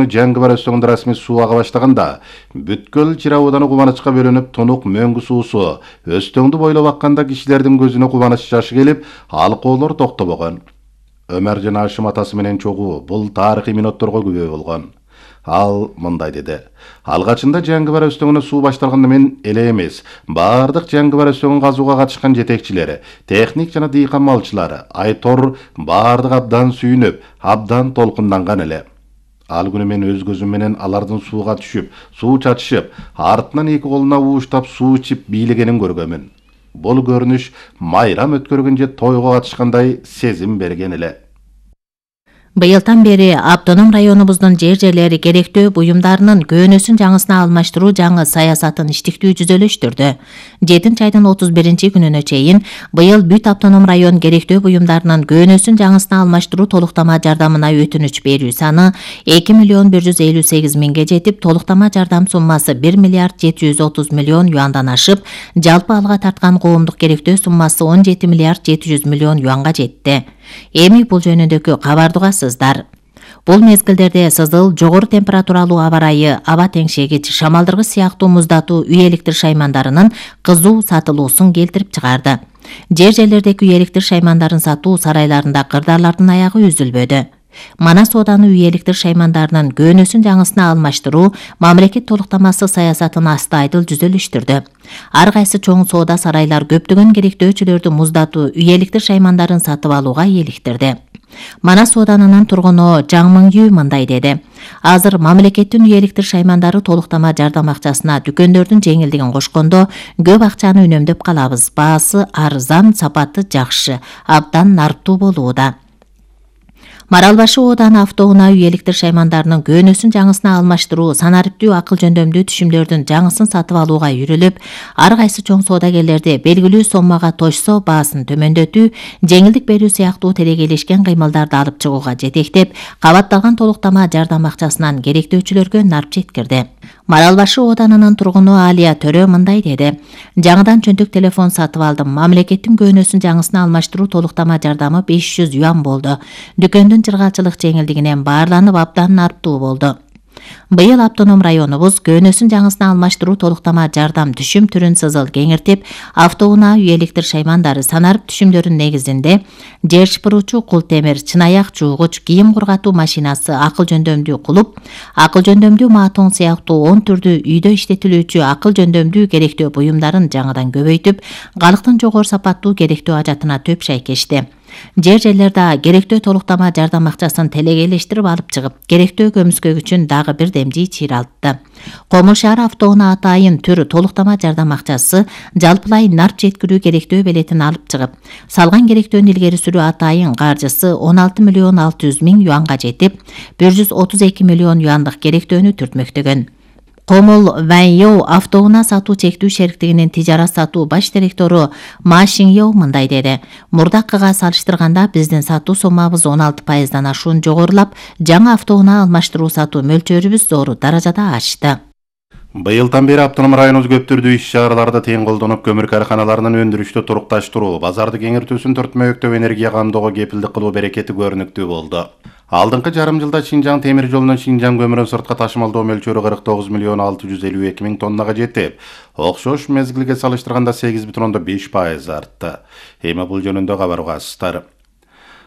жаңгы бар өстөгүндө расмий суу ага баштаганда бүткүл Чира ауданы кубанычка бөлүнүп, тунук мөңгү суусу өстөңдү бойлоп акканда кишилердин көзүнө кубаныч жашы келип, алкоолор токтобогон. Өмөржан Ашим атасы менен чогуу бул тарыхый минутторго күбө болгон. Ал мындай деди: алгачында жаңгы бар өстөгүнө суу башталганда мен эле эмес, бардык жаңгы бар өстөгүн казууга катышкан жетекчилери, техник жана дыйкан малчылары, Айтор бардык абдан сүйүнүп, абдан толкунданган эле. Ал күнү мен өз көзүм менен алардын сууга түшүп, суу чачышып, артынан эки колуна ууштап суу ичип бийлегенин көргөмүн. Бул көрүнүш майрам өткөргөн же тойго катышкандай сезим берген эле. Быйылдан бери автоном районубуздун жер-жерлери керектөө буюмдарынын көөнөсүн жаңысына алмаштыруу жаңы саясатын иштиктүү жүзөлөштүрдү. 7 айдын 31 күнүнө чейин быйыл бүт автоном район керектөө буюмдарынын көөнөсүн жаңысына алмаштыруу толуктама жардамына өтүнүч берүү саны 2 миллион 158 миңге жетип, толуктама жардам суммасы 1 миллиард 730 миллион юандан ашып, жалпы алга тарткан коомдук керектөө суммасы 17 миллиард 700 миллион юанга жетти. Эми бул жөнүндөгү кабарды угасыздар. Бул мезгилдерде сызыл, жогору температуралуу аба ырайы, аба теңшегич, шамалдыргыч сыяктуу муздатуу үй электр шаймандарынын кызуу сатылуусун келтирип чыгарды. Жер-жерлердеги үй электр шаймандарын сатуу сарайларында кырдаарлардын аягы үзүлбөдү. Манас ооданы үй электр шаймандарынын көөнөсүн жаңысына алмаштыруу мамлекет толуктамасы саясатын асты айдыл жүзөлүштүрдү. Ар кайсы чоң соода сарайлар көптөгөн керектөөчүлөрдү муздатуу үй электр шаймандарын сатып алууга ийгиликтирди. Манас ооданынын тургуну Жаңмың Үй мындай деди: азыр мамлекеттин үй электр шаймандары толуктама жардам акчасына дүкөндөрдүн жеңилдигин кошкондо көп акчаны үнөмдөп калабыз. Баасы арзан, сапаты жакшы, абдан нарптуу болууда. Маралбашы ооданы автоунаа үй электр шаймандарынын көөнөсүн жаңысына алмаштыруу санариптүү акыл жөндөмдүү түшүмдөрдүн жаңысын сатып алууга үйрүлүп, ар кайсы чоң соодагерлерди белгилүү соммага точсо баасын төмөндөтүү, жеңилдик берүү сыяктуу телегейлешкен кыймылдарды алып чыгууга жетектеп, кабатталган толуктама жардам акчасынан керектөөчүлөргө нарп жеткирди. Маралбашы оодарынын тургуну Алия Төрө мындай деди: жаңыдан чөнтөк телефон сатып алдым. Мамлекеттин көөнөсүн жаңысына алмаштыруу толуктама жардамы 500 юан болду. Дүкөндүн жыргалчылык жеңилдигинен баарланып абдан нарптуу болду. Быйыл автоном районубуз көөнөсүн жаңысына алмаштыруу толуктама жардам түшүм түрүн сызыл кеңиртип, автоунаа үй электр шаймандары санарып түшүмдөрүн негизинде жер шыпыруучу кул темир, чынаяк жуугуч, кийим кургатуу машинасы, акыл жөндөмдүү кулуп, акыл жөндөмдүү маатоң сыяктуу 10 түрдүү үйдө иштетилүүчү акыл жөндөмдүү керектөө буюмдарын жаңыдан көбөйтүп, калктын жогору сапаттуу керектөө ажатына төп шайкешти. Жер-жерлерде керектөө толуктама жардам акчасын телегейлештирип алып чыгып, керектөө көмүскөгүчүн дагы бир демжий чыйралтты. Комул шаар автоунаа атайын түр толуктама жардам акчасы жалпылай нарп жеткирүү керектөө белетин алып чыгып, салган керектөөнү илгери сүрүү атайын каржысы 16 миллион 600 миң юанга жетип, 132 миллион юандык керектөөнү түртмөктөгөн. Комул Ваньё автоунаа сатуу чектүү шериктигинин тижарат сатуу баш директору Ма Шиньё мындай деди: мурдакыга салыштырганда биздин сатуу соммабыз 16%дан ашуун жогорулап, жаңы автоунаа алмаштыруу сатуу мөлчөрүбүз зор даражада ашты. Быйылдан бери автоном районубуз көп түрдүү иш-чараларда тең колдонуп, көмүр карканаларынын өндүрүштү турукташтыруу, базарды кеңиртүүсүн төртмөктөп энергия камдоого кепилдик кылуу берекети көрүнүктүү болду. Алдыңкы жарым жылда Шинжаң темир жолунун Шинжаң көмүрүн сыртка ташымалдоо мөлчөрү 49 миллион 652 миң тоннага жетип, окшош мезгилге салыштырганда 8,5% артты. Эми бул жөнүндө кабар угасыздар.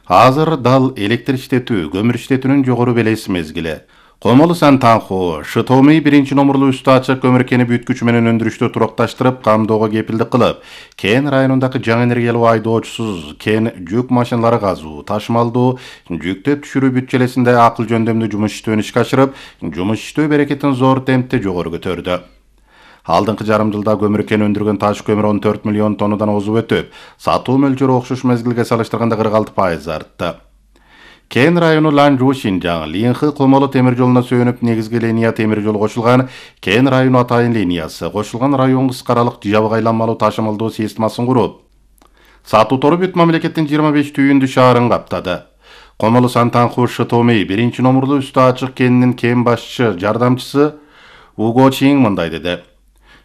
Азыр дал электр иштетүү, көмүр иштетүүнүн жогору белес мезгили. Комолу Сантанху, Шытомий 1-номурлуу үстү ачык көмүр кени бүткүчү менен өндүрүштү турукташтырып, камдоого кепилдик кылып, кен районундагы жаңы энергиялуу айдоочусуз кен жүк машиналары казуу, ташымалдуу, жүктөп түшүрүү бүт-желесинде акыл жөндөмдүү жумуш иштөөнү ишке ашырып, жумуш иштөө берекетин зор темпте жогору көтөрдү. Алдыңкы жарым жылда көмүр кен өндүргөн таш көмүр 14 миллион тоннадан озуп өтүп, сатуу мөлчөрү окшош мезгилге салыштырганда 46% артты. Кен району Ланжу Шинжаң, Линхы Комолу темир жолуна сөөнүп негизги линия темир жолу кошулган Кен району атайын линиясы, кошулган район кыскаралык жабык айланмалуу ташымалдоо системасын куруп, сатуу тору бүт мамлекеттин 25 түйүндү шаарын каптады. Комолу Сантанху Шытомий 1-номурлуу үстү ачык кенинин кен башчы жардамчысы Уго Чин мындай деди: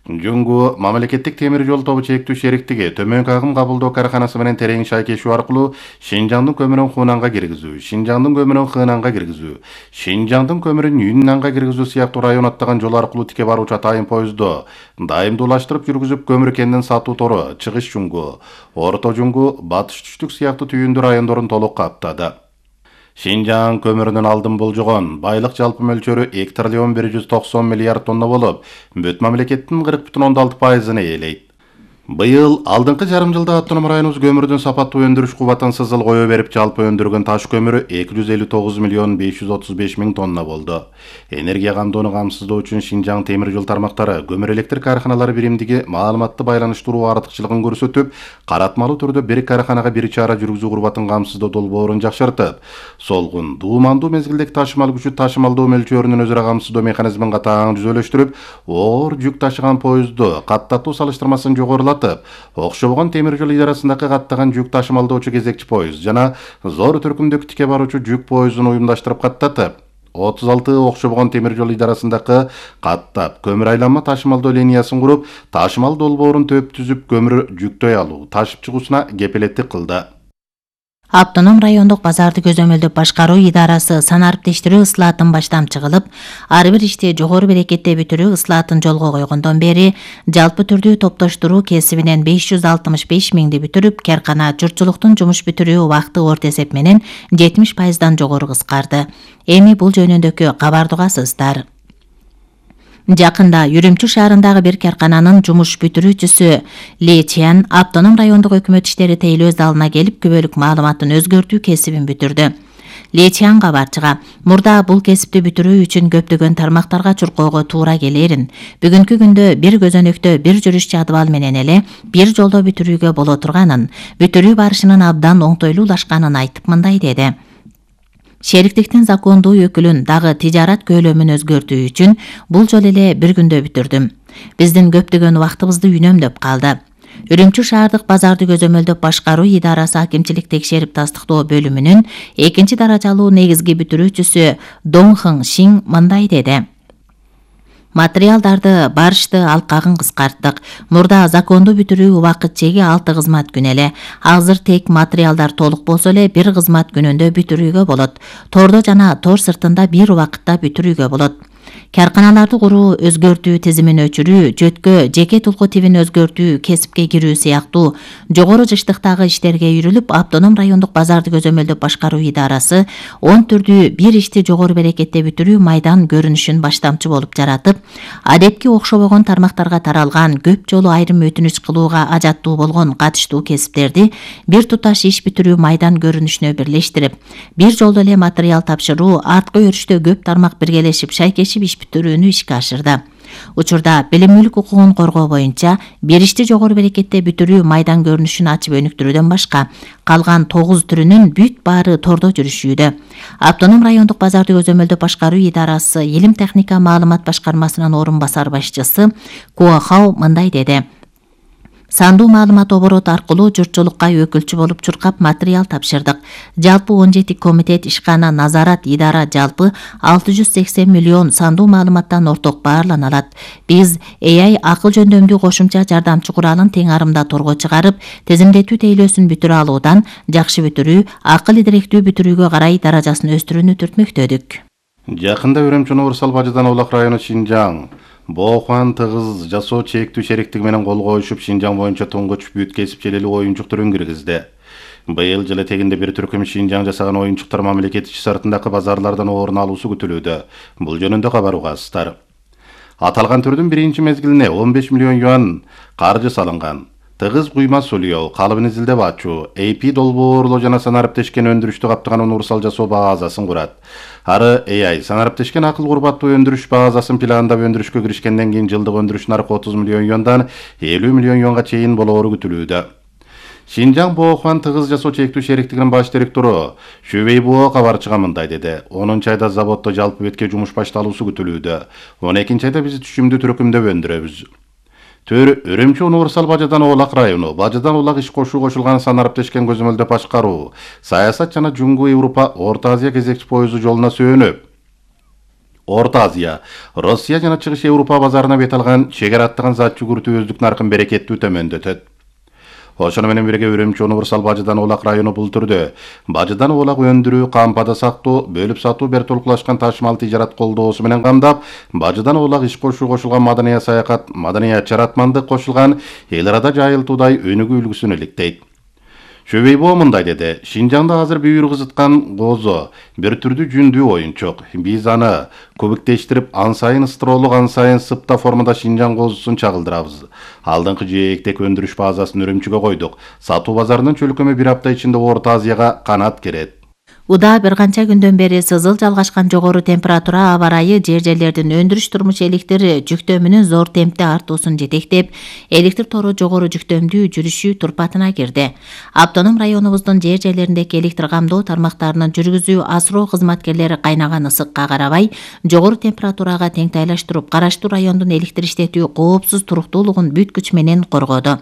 Жунгу мамлекеттик темир жол тобу чектүү шериктиги төмөнкү агым кабылдоо караханасы менен терең шайкешүү аркылуу Шинжаңдын көмүрүн Хунанга киргизүү, Шинжаңдын көмүрүн Хынанга киргизүү, Шинжаңдын көмүрүн Юннанга киргизүү сыяктуу район аттаган жол аркылуу тике баруучу атайын поездо дайымдуулаштырып жүргүзүп көмүр кендин сатуу тору чыгыш Жунгу, Орто Жунгу, Батыш Түштүк сыяктуу түйүндүү райондорун толук каптады. Шинжаң көмүрүнүн алдын болжогон байлык жалпы мөлчөрү 2 триллион 190 миллиард тонна болуп, бүт мамлекеттин 40,6%-ын ээлейт. Быйыл алдыңкы жарым жылда автоном районубуз көмүрдүн сапаттуу өндүрүш кубатын сызыл кое берип жалпы өндүргөн таш көмүрү 259 миллион 535 миң тонна болду. Энергия камдоону камсыздоо үчүн Шинжаң темир жол тармактары көмүр электр каарханалары биримдиги маалыматты байланыштыруу артыкчылыгын көрсөтүп, каратмалуу түрдө бир каарханага бир чара жүргүзүү курбатын камсыздоо долбоорун жакшыртып, солгун, дуумандуу мезгилдеги ташымал күчү ташымалдоо мөлчөрүнүн өзүрө камсыздоо механизмин катаң жүзөлөштүрүп, оор жүк ташыган поездду каттаттуу салыштырмасын жогорулатып, окшобогон темир жол идарасындагы каттаган жүк ташымалдоочу кезекчи поезд жана зор түркүмдөгү тике баруучу жүк поездун уюмдаштырып каттатып, 36 окшобогон темир жол идарасындагы каттап көмүр айланма ташымалдоо линиясын куруп, ташымал долбоорун төп түзүп, көмүр жүктөй алуу, ташып чыгуусуна кепилеттик кылды. Автоном райондук базарды көзөмөлдөп башкаруу идарасы санариптештирүү ыслаатын баштап чыгылып, ар бир ишти жогору берекетте бүтүрүү ыслаатын жолго койгондон бери жалпы түрдүү топтоштуруу кесибинен 565 миңди бүтүрүп, каркана журтчулуктун жумуш бүтүрүү убакыты орто эсеп менен 70%дан жогору кыскарды. Эми бул жөнүндөгү кабарды угасыздар. Жакында Үрүмчү шаарындагы бир каркананын жумуш бүтүрүүчүсү Ли Чиан автоном райондук өкмөт иштери тейлөө залына келип күбөлүк маалыматын өзгөртүү кесибин бүтүрдү. Ли Чиан кабарчыга мурда бул кесипти бүтүрүү үчүн көптөгөн тармактарга чуркоого туура келерин, бүгүнкү күндө бир көзөнөктө бир жүрүш жадыбал менен эле бир жолдо бүтүрүүгө боло турганын, бүтүрүү барышынын абдан оңтойлуулашканын айтып мындай деди. Шериктиктин закондуу өкүлүн дагы тижарат көлөмүн өзгөртүү үчүн бул жолу эле бир күндө бүтүрдүм. Биздин көптөгөн убактыбызды үнөмдөп калды. Үрүмчү шаардык базарды көзөмөлдөп башкаруу идарасы акимчилик текшерип тастыктоо бөлүмүнүн 2 даражалуу негизги бүтүрүүчүсү Дong Хың Шиң мындай деди. Материалдарды барышты алкагын кыскарттык. Мурда закондуу бүтүрүү убакыт чеги 6 кызмат күн эле. Азыр тек материалдар толук болсо эле бир кызмат күнүндө бүтүрүүгө болот. Тордо жана тор сыртында бир убакытта бүтүрүүгө болот. Карканаларды куруу, өзгөртүү, тизимин өчүрүү, жөткө, жеке тулку тибин өзгөртүү, кесипке кирүү сыяктуу жогору жыштыктагы иштерге үйрүлүп, автоном райондук базарды көзөмөлдөп башкаруу идарасы 10 түрдүү бир ишти жогору берекетте бүтүрүү майдан көрүнүшүн баштамчы болуп жаратып, адепки окшобогон тармактарга таралган, көп жолу айрым өтүнүч кылууга ажаттуу болгон катыштуу кесиптерди бир туташ иш бүтүрүү майдан көрүнүшүнө бирлештирип, бир жолдо эле материал тапшыруу, арткы өрүштө көп тармак биргелешип шайкешип иш бүтүрүүнү ишке ашырды. Учурда билимдүүлүк укугун коргоо боюнча бир ишти жогору берекетте бүтүрүү майдан көрүнүшүн ачып өнүктүрүүдөн башка калган 9 түрүнүн бүт баары тордо жүрүшүүдө. Автоном райондук базарды көзөмөлдөп башкаруу идарасы Илим техника маалымат башкармасынын орун басар башчысы Куо Хау мындай деди. Сандуу маалымат оборот аркылуу журтчулукка өкүлчү болуп чуркап материал тапшырдык. Жалпы 17 комитет, ишкана, назарат, идара жалпы 680 миллион сандуу маалыматтан орток баарлана алат. Биз AI акыл жөндөмдүү кошумча жардамчы куралын тең арымда торго чыгарып, тизимдетүү тейлөөсүн бүтүрө алуудан жакшы бүтүрүү, акыл идиректүү бүтүрүүгө карай даражасын өстүрүүнү түртмөктөдүк. Жакында Үрүмчү универсал бажыдан Улак району Шинжаң Боохуан тыгыз жасоо чектүү шериктиги менен кол коюшуп Шинжаң боюнча туңгуч бүт кесип желелүү оюнчук түрүн киргизди. Быйыл жыл этегинде бир түркүм Шинжаң жасаган оюнчуктар мамлекет ичи сыртындагы базарлардан орун алуусу күтүлүүдө. Бул жөнүндө кабар угасыздар. Аталган түрдүн биринчи мезгилине 15 миллион юан каржы салынган. Тыгыз куйма сулуу, калыбын изилдеп ачуу, AP долбоорлоо жана санариптешкен өндүрүштү каптаган универсал жасоо базасын курат. Ары AI санариптешкен акыл курбаттуу өндүрүш базасын пландап өндүрүшкө киришкенден кийин жылдык өндүрүш наркы 30 миллион юандан 50 миллион юанга чейин болоору күтүлүүдө. Шинжаң Боохуан тыгыз жасоо чектүү шериктигинин баш директору Шүвей Буо кабарчыга мындай деди. 10 айда заводдо жалпы бетке жумуш башталуусу күтүлүүдө. 12 айда биз түшүмдү түркүмдөп өндүрөбүз. Төр Үрүмчү универсал бажадан Улак району, бажадан Улак иш кошуу кошулган санариптешкен көзөмөлдөп башкаруу, саясат жана Жунгу Европа, Орто Азия кезекчи поезду жолуна сөөнүп, Орто Азия, Россия жана Чыгыш Европа базарына бет алган чегер аттаган зат жүгүртүү өздүк наркын берекеттүү төмөндөтөт. Ошону менен бирге Үрүмчү универсал Бажыдан Оолак району бул түрдө Бажыдан Оолак өндүрүү, кампада сактоо, бөлүп сатуу бертолуклашкан ташымал тижарат колдоосу менен камдап, Бажыдан Оолак иш кошуу кошулган маданият саякат, маданият жаратмандык кошулган эл арада жайылтуудай өнүгүү үлгүсүн иликтейт. Шөбейбо мындай деди: Шинжаңда азыр бүйүр кызыткан козо бир түрдүү жүндүү оюнчук. Биз аны көбүктештирип, ан сайын ыстыролук, ан сайын сыпта формада Шинжаң козусун чагылдырабыз. Алдыңкы жээктек өндүрүш базасын Үрүмчүгө койдук. Сатуу базарынын чөлкөмү bir апта ичинде Орто Азияга канат керет. Уда бир канча күндөн бери сызыл жалгашкан жогору температура аба ырайы жер-жерлердин өндүрүш турмуш электр жүктөмүнүн зор темпте артуусун жетектеп, электр тору жогору жүктөмдүү жүрүшүү турпатына кирди. Автоном районубуздун жер-жерлериндеги электр камдоо тармактарынын жүргүзүү асыроо кызматкерлери кайнаган ысыкка карабай, жогору температурага теңтайлаштырып, караштуу райондун электр иштетүү коопсуз туруктуулугун бүт күч менен коргоду.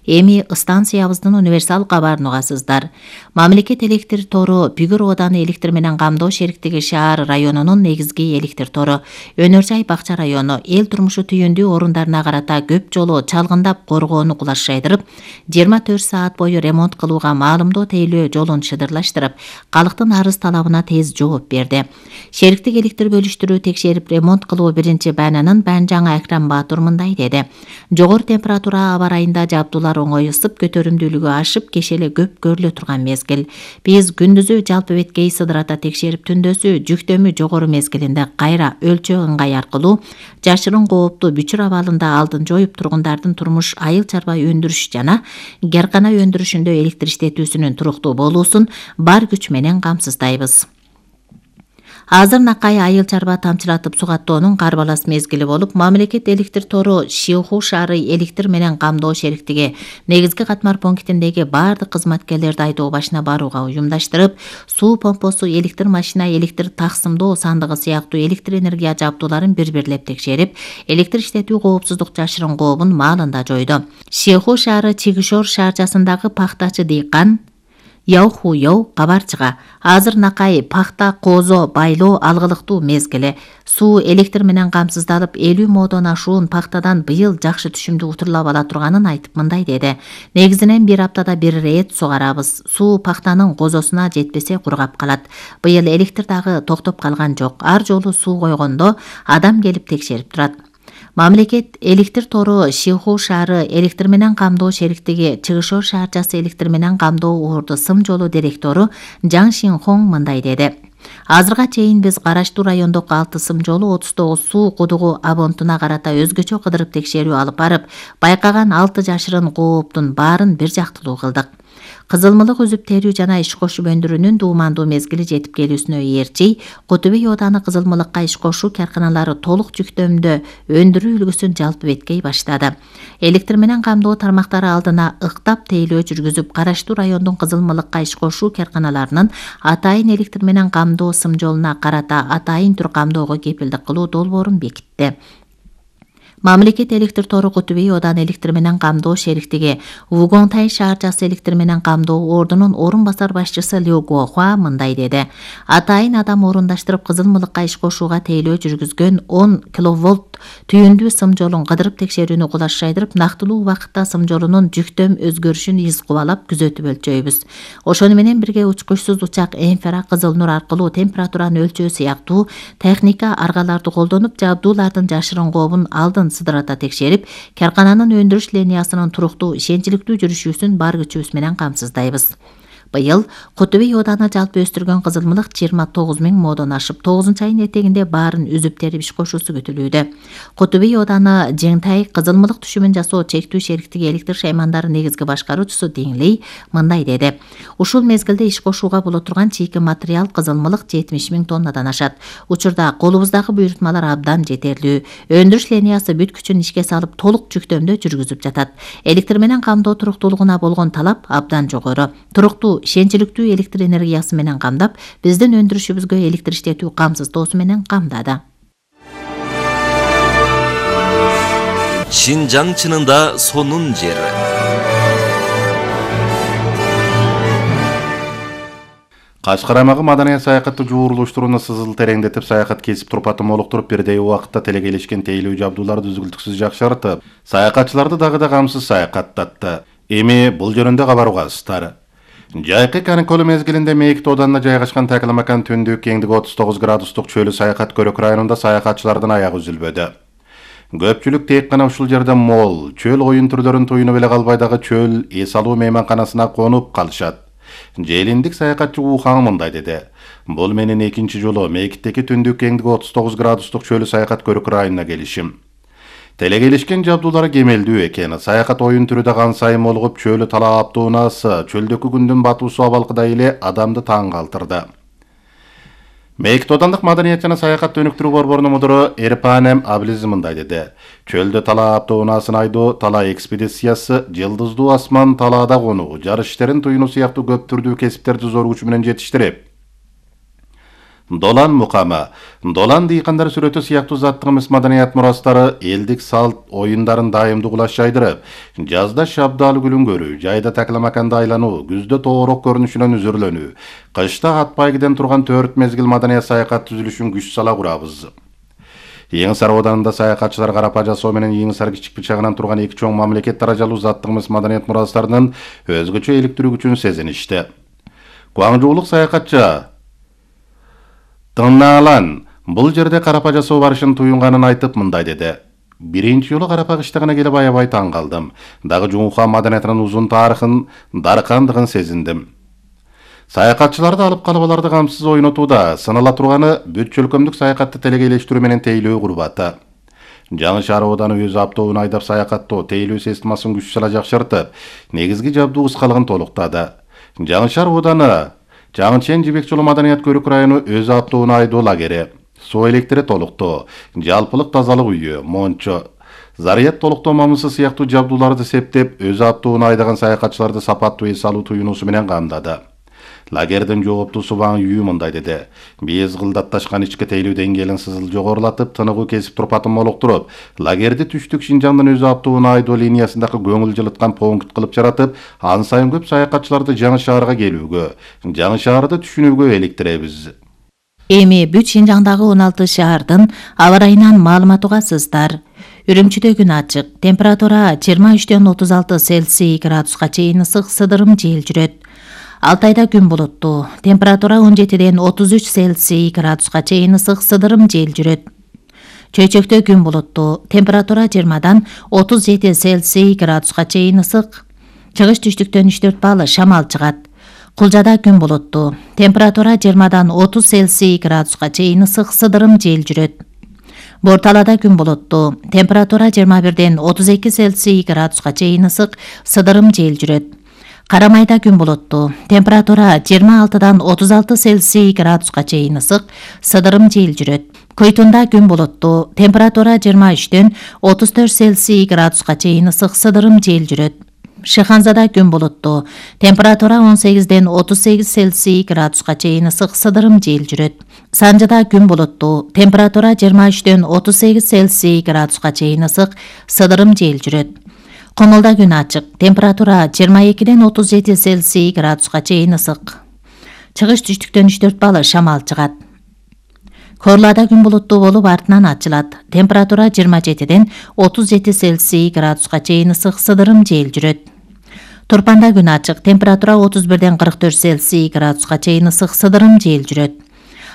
Эми станциябыздын универсал кабарын угасыздар. Мамлекет электр тору Бүгүр ооданы электр менен камдоо шериктиги шаар районунун негизги электр тору. Өнөр жай Бакча району эл турмушу түйүндүү орундарына карата көп жолу чалгындап коргоону кулашайдырып, 24 саат бою ремонт кылууга маалымдоо тейлөө жолун шыдырлаштырып, калктын арыз талабына тез жооп берди. Шериктик электр бөлүштүрүү текшерип ремонт кылуу биринчи баананын Баанжаңы Акрам Баатур мындай деди: Жогору температура аба ырайында жабдуулар оңой ысып, көтөрүмдүүлүгү ашып, кешеле көп көрүлө турган мезгил. Биз күндүзү жалпы беткей сыдырата текшерип, түндөсү жүктөмү жогору мезгилинде кайра өлчөө ыңгай аркылуу жашырын кооптуу бүчүр абалында алдын жоюп, тургундардын турмуш айыл чарба өндүрүш жана геркана өндүрүшүндө электр иштетүүсүнүн туруктуу болуусун бар күч менен камсыздайбыз. Азыр накай айыл чарба тамчылатып сугаттоонун карбалас мезгили болуп, мамлекет электр тору Шиуху шаары электр менен камдоо шериктиги негизги катмар пунктиндеги бардык кызматкерлерди айдоо башына барууга уюмдаштырып, суу помпосу, электр машина, электр таксымдоо сандыгы сыяктуу электр энергия жабдууларын бир-бирлеп текшерип, электр иштетүү коопсуздук жашырын кообун маалында жойду. Шиуху шаары Чигишор шаарчасындагы пахтачы дыйкан Яухуйоу кабарчыга: азыр накай пахта козо байлоо алгылыктуу мезгили. Суу электр менен камсыздалып, 50 модон ашуун пахтадан быйыл жакшы түшүмдү утурлап ала турганын айтып мындай деди: Негизинен bir аптада bir рет сугарабыз. Суу пахтанын козосуна жетпесе кургап калат. Быйыл электр дагы токтоп калган жок. Ар жолу суу койгондо адам келип текшерип турат. Мамлекет электр тору Шиуху шаары электр менен камдоо шериктиги Чыгышор шаарчасы электр менен камдоо уурду сым жолу директору Жан Шинхон мындай деди: Азырга чейин биз караштуу райондогу 6 сым жолу 39 суу кудугу абонтуна карата өзгөчө кыдырып текшерүү алып барып, байкаган 6 жашырын кооптун баарын бир жактылуу кылдык. Кызылмылык үзүп терүү жана иш кошуп өндүрүүнүн дуумандуу мезгили жетип келүүсүнө ээрчий, Котубей ооданы кызылмылыкка иш кошуу карканалары толук жүктөмдө өндүрүү үлгүсүн жалпы беткей баштады. Электр менен камдоо тармактары алдына ыктап тейлөө жүргүзүп, караштуу райондун кызылмылыкка иш кошуу карканаларынын атайын электр менен камдоо сым жолуна карата атайын түр камдоого кепилдик кылуу долбоорун бекитти. Мамлекет электр тору Котубей ооданы электр менен камдоо шериктиги Вугонтай шаарчасы электр менен камдоо ордунун орун басар башчысы Лю Гохуа мындай деди: Атайын адам орундаштырып, кызылмылыкка иш кошууга тейлөө жүргүзгөн 10 киловольт түйүндүү сым жолун кыдырып текшерүүнү кулашайдырып, нактылуу убакытта сым жолунун жүктөм өзгөрүшүн из кубалап күзөтүп өлчөйбүз. Ошону менен бирге учкучсуз учак инфра кызыл нур аркылуу температураны өлчөө сыяктуу техника аргаларды колдонуп, жабдуулардын жашырын кообун алдын сыдырата текшерип, каркананын өндүрүш линиясынын туруктуу, ишенчиликтүү жүрүшүүсүн бар күчүбүз менен камсыздайбыз. Быйыл Котубей ооданы жалпы өстүргөн кызылмылык 29 000 модон ашып, 9-айын этегинде баарын үзүп терип иш кошуусу күтүлүүдө. Котубей ооданы Жеңтай кызылмылык түшүмүн жасоо чектүү шериктиги электр шаймандары негизги башкаруучусу Диңлей мындай деди: Ушул мезгилде иш кошууга боло турган чийки материал кызылмылык 70 000 тоннадан ашат. Учурда колубуздагы буйрутмалар абдан жетерлүү. Өндүрүш линиясы бүт күчүн ишке салып, толук жүктөмдө жүргүзүп жатат. Электр менен камдоо туруктуулугуна болгон талап абдан жогору. Туруктуу, ишенчиликтүү электр энергиясы менен камдап, биздин өндүрүшүбүзгө электр иштетүү камсыздоосу менен камдады. Шинжаң чынында сонун жер. Кашкар аймагы маданият саякатты жуурулуштурууну сызыл тереңдетип, саякат кесип турпатын молуктуруп, бирдей убакытта телегелешкен тейлүү жабдууларды үзгүлтүксүз жакшыртып, саякатчыларды дагы да камсыз саякаттатты. Эми бул жөнүндө кабар угасыздар. Жайкы каникул мезгилинде Мейик тооданына жайгашкан Такламакан түндүк кеңдиги 39 градустук чөлү Саякат Көрөк районунда саякатчылардын аягы үзүлбөдү. Көпчүлүк тек гана ушул жерде мол, чөл оюн түрлөрүн туюнуп эле калбай дагы чөл эс алуу мейманканасына конуп калышат. Желиндик саякатчы Ухан мындай деди. Бул менин экинчи жолу Мейиктеги түндүк кеңдиги 39 градустук чөлү Саякат Көрөк районуна келишим. Телегелешкен жабдуулары кемелдүү экен. Саякат оюн түрү да кан сайын молугуп, чөлү талаптуу унаасы, чөлдөгү күндүн батуусу абалкыдай эле адамды таң калтырды. Мейик тоодандык маданият жана саякат өнүктүрүү борборунун мудуру Эрпанем Аблиз мындай деди. Чөлдө талаптуу унаасын айдоо, тала экспедициясы, жылдыздуу асман талаада конуу, жарыш иштерин туюнуу сыяктуу көп түрдүү кесиптерди зор күч менен жетиштирип, долан мукамы, долан дыйкандар сүрөтү сыяктуу заттыгымыз маданият мурастары, элдик салт оюндарын дайымдуу кулаш жайдырып, жазда шабдаалы күлүнгөрүү, жайда Такламаканды айлануу, күздө тоорок көрүнүшүнөн үзүрлөнүү, кышта ат байгиден турган 4 мезгил маданият саякат түзүлүшүн күч сала курабыз. Эң Сар ауданында саякатчылар карапа жасоо менен Эң Сар кичик бычагынан турган эки чоң мамлекет даражалуу заттыгымыз маданият мурастарынын өзгөчө иликтирүү күчүн сезиништи. Куаңжуулук саякатчы Тыннаалан бул жерде карапа жасоо барышын туюнганын айтып мындай деди. Биринчи жолу карапа кыштыгына келип аябай таң калдым. Дагы Жумха маданиятынын узун тарыхын, даркандыгын сезиндим. Саякатчыларды алып калып аларды камсыз ойнотууда сыныла турганы бүт чөлкөмдүк саякатты телегелештирүү менен тейлөө курбаты. Жаңы Шаар ооданы өз аптообун айдап саякаттоо, тейлөө системасын күч сала жакшыртып, негизги жабдуу кыскалыгын толуктады. Жаңы Шаар ооданы Жаңычен Жибек жолу маданият Көрөк району өз аптообун айдоо лагери, суу электри толуктоо, жалпылык тазалык үйү, мончо, зарият толуктоо мамысы сыяктуу жабдууларды септеп, өз аптообун айдаган саякатчыларды сапаттуу эс алуу туюнуусу менен камдады. Лагердин жооптуусу Ваң Үй мындай деди. Биз кылдатташкан ички тейлүү деңгээлин сызыл жогорулатып, тыныгуу кесип турпатын молуктуруп, лагерди түштүк Шинжаңдын өз аптообун айдоо линиясындагы көңүл жылыткан пункт кылып жаратып, ан сайын көп саякатчыларды Жаңы Шаарга келүүгө, Жаңы Шаарды түшүнүүгө иликтиребиз. Эми бүт Шинжаңдагы 16 шаардын аба ырайынан маалымат угасыздар. Үрүмчүдө күн ачык, температура 23-ден 36 Цельсий градуска чейин ысык, сыдырым жел жүрөт. Алтайда күн булуттуу, температура 17-ден 33 Цельсий градуска чейин ысык, сыдырым жел жүрөт. Чөйчөктө күн булуттуу, температура 20-дан 37 Цельсий градуска чейин ысык, чыгыш түштүктөн 3-4 балл шамал чыгат. Кулжада күн булуттуу, температура 20-дан 30 Цельсий градуска чейин ысык, сыдырым жел жүрөт. Борталада күн булуттуу, температура 21-ден 32 Цельсий градуска чейин ысык, сыдырым жел жүрөт. Карамайда күн булуттуу, температура 26-дан 36 Цельсий градуска чейин ысык, сыдырым жел жүрөт. Көйтүндө күн булуттуу, температура 23-ден 34 Цельсий градуска чейин ысык, сыдырым жел жүрөт. Шыханзада күн булуттуу, температура 18-ден 38 Цельсий градуска чейин ысык, сыдырым жел жүрөт. Санжыда күн булуттуу, температура 23-ден 38 Цельсий градуска чейин ысык, сыдырым жел жүрөт. Комолда күн ачык, температура 22-ден 37 Цельсий градуска чейин ысык. Чыгыш түштүктөн 3-4 балл шамал чыгат. Корлада күн булуттуу болуп артынан ачылат. Температура 27-ден 37 Цельсий градуска чейин ысык, сыдырым жел жүрөт. Турпанда күн ачык, температура 31-ден 44 Цельсий градуска чейин ысык, сыдырым жел жүрөт.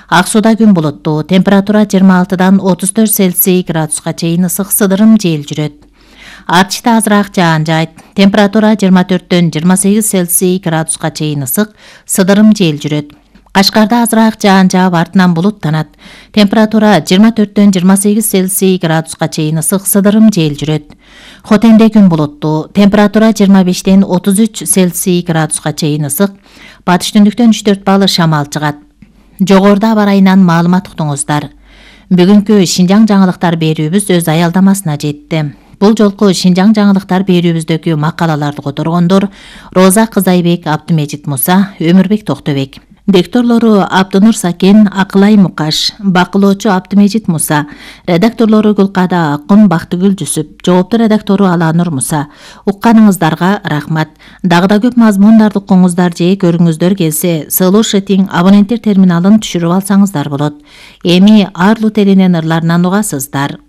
Ак сууда күн булуттуу, температура 26-дан 34 Цельсий градуска чейин ысык, сыдырым жел жүрөт. Артышта азыраак жаан жайт, температура 24-дөн 28 Цельсий градуска чейин ысык, сыдырым жел жүрөт. Кашкарда азыраак жаан жаап артынан булуттанат, температура 24-дөн 28 Цельсий градуска чейин ысык, сыдырым жел жүрөт. Хотенде күн булуттуу, температура 25-ден 33 Цельсий градуска чейин ысык, батыш түндүктөн 3-4 балл шамал чыгат. Жогоруда аба ырайынан маалымат уктуңуздар. Бүгүнкү Шинжаң жаңылыктар берүүбүз өз аялдамасына жетти. Бул жолку Шинжаң жаңылыктар берүүбүздөгү макалаларды которгондор Роза Кызайбек, Абдымежит Муса, Өмүрбек Токтобек. Дикторлору Абдынур Сакен, Акылай Мукаш, бакылоочу Абдымежит Муса, редакторлору Гүлкада Акын, Бактыгүл Жүсүп, жоопту редактору Аланур Муса. Укканыңыздарга рахмат. Дагы да көп мазмундарды укуңуздар же көрүңүздөр келсе, Слушатиң абоненттер терминалын түшүрүп алсаңыздар болот. Эми Арлу телинен ырларынан угасыздар.